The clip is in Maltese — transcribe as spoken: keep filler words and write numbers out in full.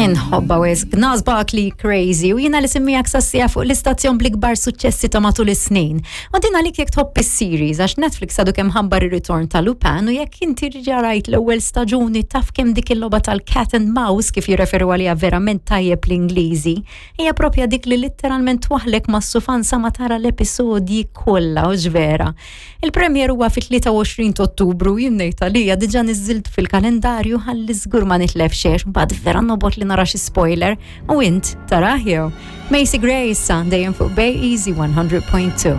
Inħobba wisq, Gnarls Barkley, "Crazy", u jiena li semmijak sassija fuq l-istazzjon bl-ikbar suċċessi ta' matul is-snin. U din għalik jekk tħobb is-series, għax Netflix għadu kemm ħabbar ir-ritorn ta' Lupin, u jekk inti rajt l-ewwel staġuni taf kemm dik il-logħba tal-cat and mouse, kif jirreferu għaliha verament tajjeb l-Ingliżi, hija propja dik li litteralment twaħlek mas-sufan sa ma tara l-episodji kollha u vera. Il-premier huwa fit-tlieta u għoxrin ta' Ottubru, jien ngħid għalija diġà niżżilt fil-kalendarju ħalli żgur ma nitlef xejn, mbagħad vera nobgħod li nara xi spoiler, u int tarah jew. Macy Gray issa, dejjem fuq Bay Easy one hundred point two.